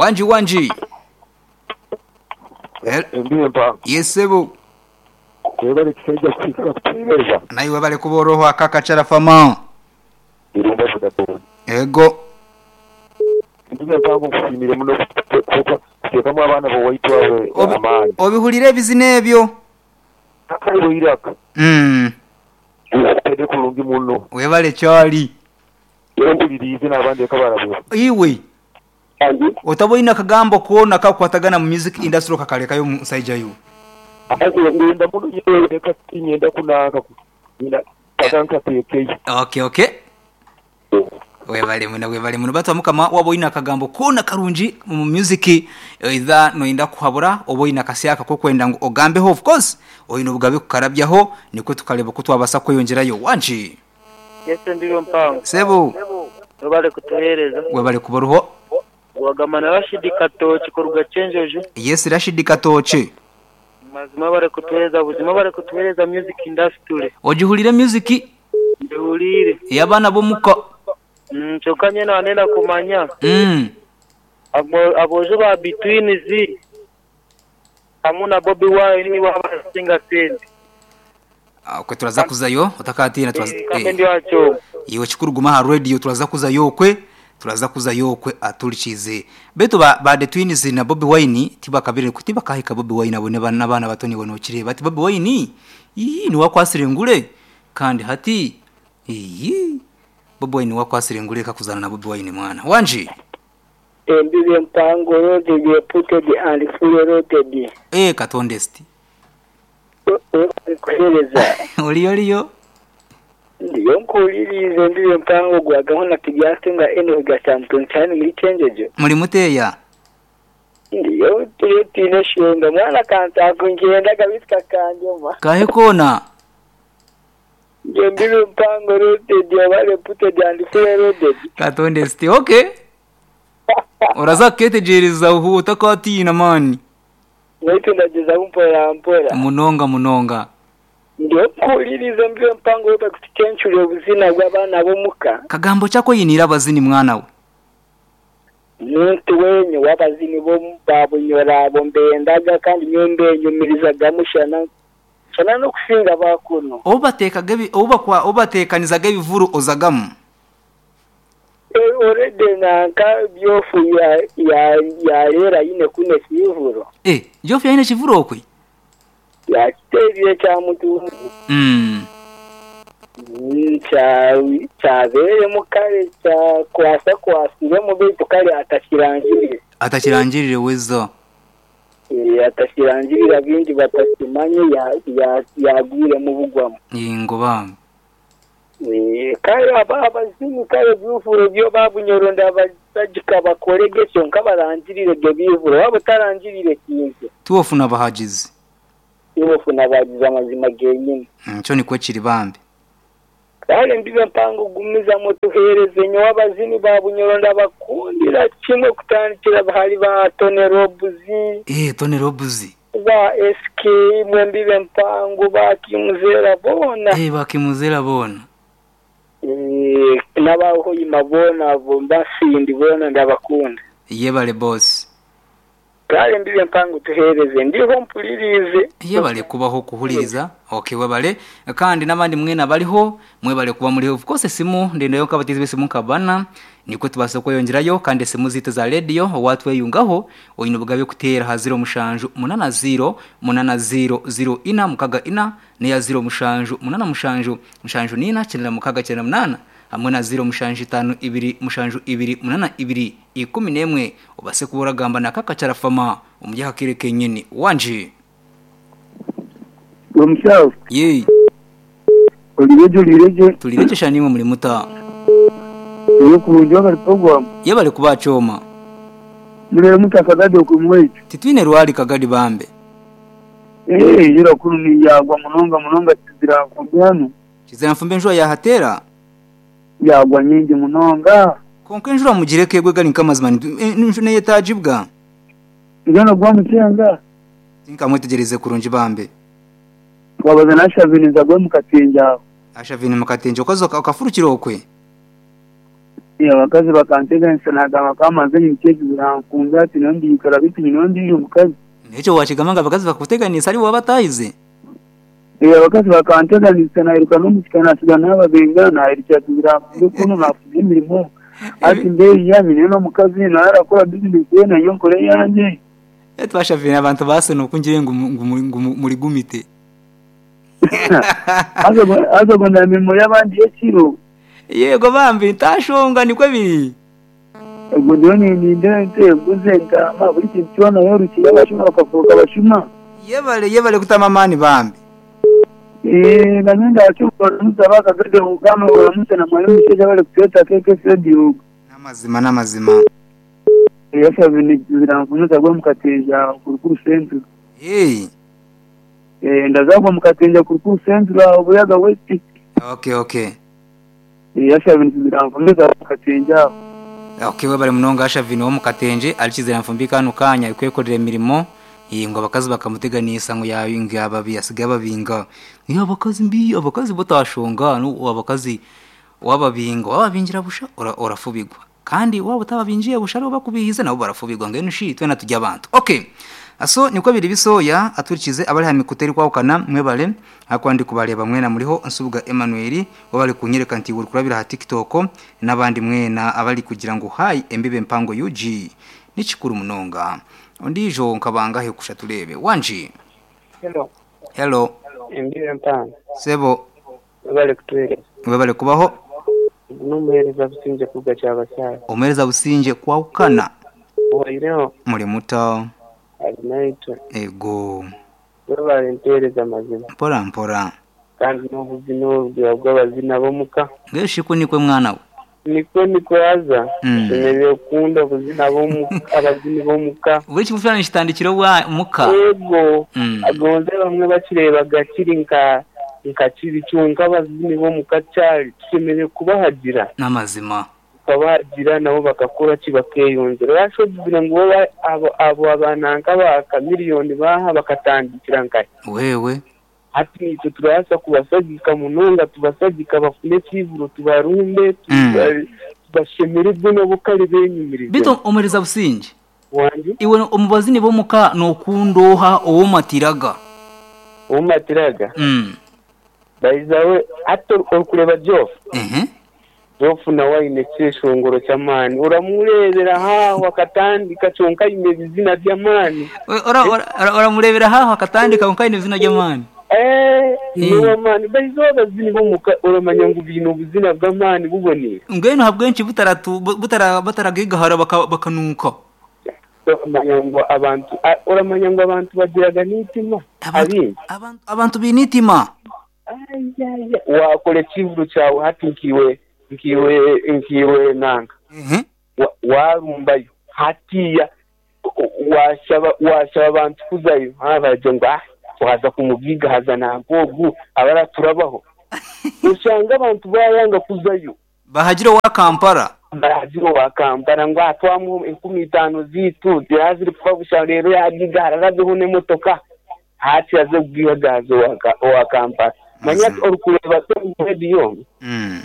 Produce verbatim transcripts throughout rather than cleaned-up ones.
Wanji wanji. Hel- Embi mpa. Yesebo. Webale kisajja kusiika kutuweereza. Naye webale kuba oroho akakachara fama. Irumba kudapo. Ego. Embi mpango nkusiimire muno kuteekamu abaana b'owaitu abo amaanyi. Obihulira ebizina ebyo. Akairo Iraq. Mm. Tede kulungi muno. Webale kyali. Era mpulirize n'abandi ekabalabula. Iwe. Otaboina akagambo koona kakwatagana mu music industry kakalekayo musajja yo. Ngenda muno leka tinyenda kunanka nyina kakanka tekeyo. Okay okay. Webale muno webale muno batwa mukama waboina akagambo koona karungi mu music either noyinda kuhabura oboina kasyaka ko kwenda ngo ogambeho of course oyino bugabe kukarabyaho niko tukareba ko twabasa kweyongerayo wanji. Yese ndiyo mpango. Sebo. Webale kutuhereza. Webale kubaruho. Wagamana Rashidi Katoki kuruga Chenjojo. Yes Rashidi Katoki. Mazima bare kutuhereza buzima bare kutuhereza music industry. Ojihulire music? Ndihulire. Yabana bomuka. Mm, kyokka nyene wanenda kumanya. Mm. Abo abojo ba between z hamwe na Bobi Wine ni wabasinga sente. Okwe turaza kuzayo otakatina turaza. Eh, ndi wacho. Iwe kikuruguma ha radio turaza kuzayo kwe. Turaza kuzayo kwe aturikize. Betu ba, ba The Twins na Bobi Wine tibakabire kutiba kahika Bobi Wine abone n'abana batoni bonokire bati Bobi Wine iyi ni wakwasire ngure kandi hati iyi Bobi Wine wakwasire ngure kakuzana na Bobi Wine mwana. Wanji. Embibe mpango roaded putted and fully roaded. Eh katondesti. Kuhereza. Oliyo liyo. Ndiyo nkulirize mbibe mpango gwagaho na kibyase nga eno gasample cyane muri Chenjejo. Muri muteya. Ndiyo tiri tine shenga mwana kanta kungenda kabitwa kanjoma. Kahe kona. Ndiyo mbibe mpango roaded yabale putted and fully roaded. Katondesti okay. Uraza ketegereza uhu utakatina mani. Wetu ndageza mpora mpora. Munonga munonga. Ndiyo nkulirize mbibe mpango yoba kutichenchule obuzina bw'abaana b'omuka. Kagambo chako yinira abazini mwana we. Muntu wenyu w'abazini bo babunyora abo mbendaga kandi nyombe nyumirizaga mushana shana no kusinga bakuno. Obatekaga oba kwa obatekanizaga ebivuru ozagamu. E already nanka byofu ya ya ya lera yine kune kivuro. Eh, byofu ya yine kivuro okwe. Ya kiterire kya mutu. Mm. Cha chabere mukare cha kwasa kwasire mu bitu kare atakirangirire. Atakirangirire wezo. Eh atakirangirira bindi batakimanye ya ya yagwire mu bugwamo. Ingo bam. Eh kare aba abazini kare byufuro byo babunyoronda abajika bakorege cyo nkabarangirire byo bivuro wabo tarangirire kintu. Tuwofuna bahagizi. Tuwofuna bahagizi amazima genyine. Cyo ni kwekiri bambe. Kale mbibe mpango gumiza mutuhereze nyo abazini babunyoronda bakundira kimwe kutandikira bahali ba Tony Robuzi. Eh Tony Robuzi. Ba S K mwe mbibe mpango ba Kimuzera bona. Eh ba Kimuzera bona. Eh nabaho imabona bomba sindi bona ndabakunda. Yebale boss. Kale mbibe mpango tuhereze ndiho mpulirize. Yebale kubaho kuhuliriza. Okay webale kandi nabandi mwena baliho mwebale kuba muri of course simu ndende kabatizi bese mukabana niko tubasa kweyongerayo kandi simu zito za radio watwe yungaho oyino bugabe kutera ha zero mushanju munana zero munana zero zero ina mukaga ina ne ya zero mushanju munana mushanju mushanju nina chenera mukaga chenera munana hamwe na zero mushanju tano ibiri mushanju ibiri munana ibiri ikumi nemwe obase kubora gamba na kaka charafama umujya kireke nyini wanje. Omushaho. Yee. Olireje olireje. Tulireje shanimwe muri muta. Yo kurungi bari program. Yebale kubachoma. Mure muta kagadi okumwetu. Titwine rwali kagadi bambe. Eh yira kuru yagwa munonga munonga kizira mfumbe. Kizira mfumbe njwa ya hatera. Yagwa nyingi munonga. Konke njura mugireke gwe gali nkamazima nshune yetajibwa. Ngano gwa mutenga. Tinka mwetegereze kurungi bambe. Wabaza nashavini zagwe mukatenja. Ashavini mukatenja okazo okafurukira okwe. Abakazi bakanteganisa nagamba kamaze nyimukezi birankunga ati nondikara bitu nyinondiyo omukazi. Nekyo wakigamba ngo abakazi bakuteganisa ari bo batayize. Abakazi bakanteganisa nairuka n'omusika nasiga n'ababenga nairukira birankunga kuno nafuza emirimo. Ati mbeeyi nyine n'omukazi nawe arakora bizinesi ye nayo nkore eyange. Twashavire abantu baseno kungire ngu ngu muri gumite. Aza gonda mirimo y'abandi y'ekiro. Yego bambi ntashonga nikwe biri. Ubwo ndiyo ninde nteguze ntama buri kintu cyona yorukiye abashuma bakavuga abashuma. Yebale yebale kutama mani bambi. Eh nagenda acyukora nuzaba kagade ugama uramutse na mwalimu sheja bale kuteta keke radio. Namazima namazima. Yasa birankunuza gwa mukateja kurukuru center. Hey. Eh ndazagwa mukateja kurukuru center obuyaga west. Okay okay. Yasa birankunuza mukateja. Okay webale munonga ashavino wo mukatenje alikizera mfumbika nukanya ikwekorera emirimo ngo abakazi bakamuteganisa ngo yabinga ababi asiga babinga niyo abakazi mbi abakazi botashonga no abakazi wababinga wababingira busha orafubigwa kandi waba utababinjiye busha ro bakubihize nabo barafubigwa ngene shi twe natujya abantu. Okay aso niko biri bisoya aturikize abari ha mikuteri kwawukana mwebale akwandi kubareba mwena muriho nsubuga Emmanuel wabali kunyereka nti uri kurabira ha TikTok nabandi mwena abali kugira ngo hayi embibe mpango U G nikikuru munonga ondijo nkabanga he kusha turebe wanji. Hello hello embibe mpango sebo wabali kutwereza wabali kubaho numuhereza businje kuga cyabasara omuhereza businje kwawukana waireho muri muto naitwe ego wabali ntereza mazima mpora mpora kandi n'obuzina obwo bw'abazina bomuka ngeshiku nikwe mwana we niko niko yaza tumereye kunda obuzina bomuka abazini bomuka buri kimufana kitandikiro wa muka ego agonze bamwe bakirebaga kiri nka nka kiri cyunka abazini bomuka cyari tumereye kubahagira n'amazima kabagira nabo bakakora kibakeyongera rashogira ngo abo abo abananka baka miliyoni baha bakatandikira nkaye wewe hati nitwe turasa kubasagika munonga tubasagika bafune kivuro tubarumbe tubashemererwe nabo kare benyumirize bito omereza businje wanje iwe omubazini bomuka nokundoha owomatiraga owomatiraga mm bayizawe ato okureba Joff mhm Joff na waine cyeshongoro cyamani uramurebera haho akatandika cyonka ine bizina by'amani ora uramurebera haho akatandika cyonka ine bizina by'amani eh niwo mani bayizo bazini bomuka uramanya ngo ibintu buzina bw'amani buboneye ngeno habwenshi butaratu butara bataragigahara bakanuka uramanya ngo abantu uramanya ngo abantu bagiraga nitima abantu abantu binitima wakore kivuru cyawe hatinkiwe nkiwe nkiwe nanga mhm warumbayo hatiya washaba washaba abantu kuzayo habaje ngo ah waza kumugiga haza nagogu abara turabaho usanga abantu bayanga kuzayo bahagira wa Kampala bahagira wa Kampala ngo atwamu inkumi itanu zitu zaziri kufa busha rero yagiga hararabeho nemotoka hati yaze kugiga wa Kampala manya orukureba radio mm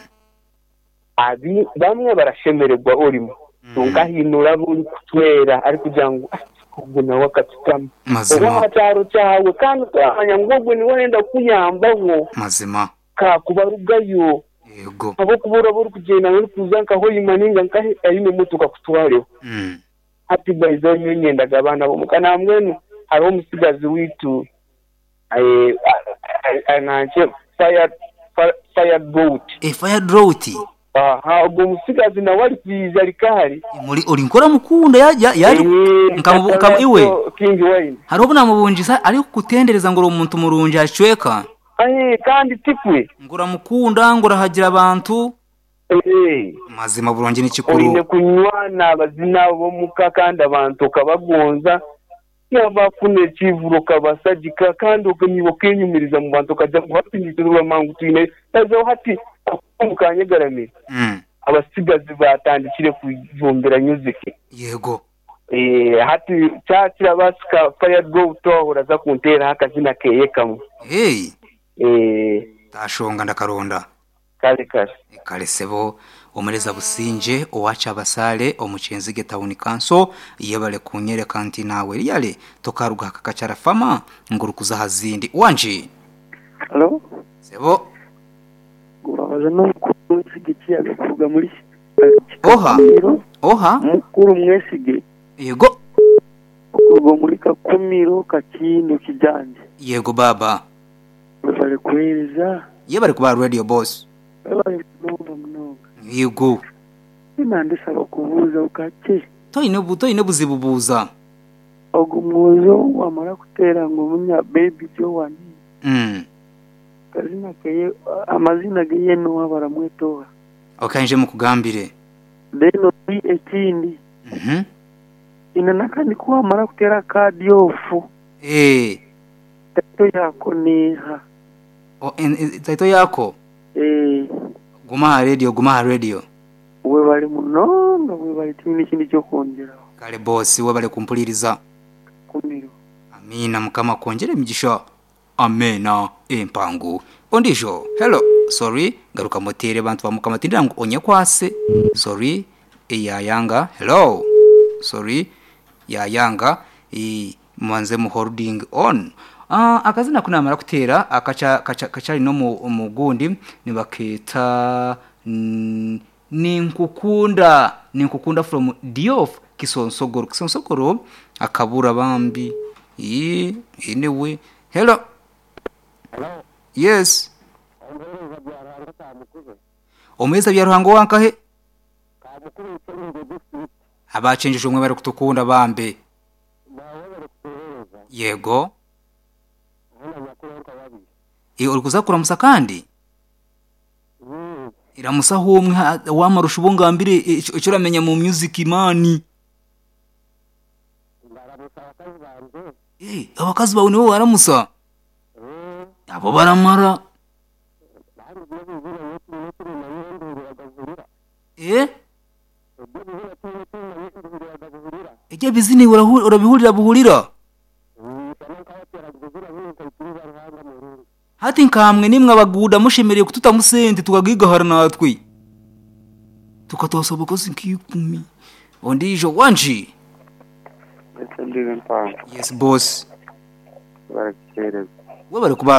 abi bamwe barashemererwa urimo tungahinura buri kutwera ari kugira ngo ubwo nawe akatutama mazima cyaro cyawe kandi twamanya ngo ubwo niwe wenda kunyambaho mazima ka kubarugayo yego abo kubura buri kugenda muri kuzanka ho yimaninga nkahe ayine mutuka kutwareho mm ati bayizo nyendaga abana bo mukanamwenu hariho umusigazi witu eh ananje fire fire drought e fire drought aha ubwo musigazi nawe ari kwiza rikahari muri uri nkora mukunda ya yari nkamu iwe King Wayne hari ubona mubunjisa ari kutendereza ngo umuntu murunje acweka eh kandi tikwe ngura mukunda ngura hagira abantu eh mazima burungi n'ikikuru urine kunywana abazina bo muka kandi abantu kabagonza yabafune kivuro kabasagika kandi ukanyibo kenyumiriza mu bantu kajya guhatinyiriza mangu twine tazo hati mukanyegaramira mm abasigazi batandikire kujumbira music yego eh hati cyakira basika fire go tohora za kuntera hakazina keye kamwe hey eh tashonga ndakaronda kare kare kare sebo Omureza Businje owacha abasale omukyenzige town council yebale kunyereka nti nawe riyale tokaruga kakachara fama ngurukuza hazindi wanji. Halo? Sebo. Gubabaza n'omukuru mwesige kiyaga kuruga muri Oha. Oha. Mukuru mwesige. Yego. Okuruga muri Kakumiro Kakindo Kijanje. Yego baba. Bale kuhereza. Yebale kuba radio boss. Bale munonga munonga. Yego. Nandisaba kubuuza ukake. Toine bu toine buzibu buuza. Ogu mwozo wamara kuteera ngu munya baby Joan. Mm. Kazina keye amazina geye no baramwetoha. Okay, nje mukugambire. Then ekindi. Mhm. Ina nakandi kuwamara kuteera kadi ofu. Eh. Taito yako niha. O en, taito yako? Eh. Guma radio, guma radio. We bali munonga, we bali timini kindi cyo kongeraho. Kale boss, we bali kumpuliriza. Kumiro. Amina mukama kongere imigisha. Amena empangu. Ondisho. Hello. Sorry, garuka motere bantu bamukama tindira ngo onye kwase. Sorry, eyayanga. Hello. Sorry, yayanga. E mwanze mu holding on. Ah, akazina kunamara kutera akacha kacha kachari no mu mugundi nibaketa mm, ninkukunda ninkukunda from Diof Kisonsogoro Kisonsogoro akabura bambi ee anyway hello. Hello. Yes. Omeza bya ruhango wankahe abachenjeje umwe bari kutukunda bambe. Yego. E uri kuzakura musa kandi iramusa humwe wamarusha ubungambire icyo uramenya mu music imani. Eh abakazi bawe nibo baramusa abo baramara. Eh ejye bizini urabihurira buhurira hati nkamwe nimwe abaguda mushemereye kututamusente tukagigahara natwe tukatosoboka nk'ikumi ondijo wanji. Yes boss. Barakereza we bari kuba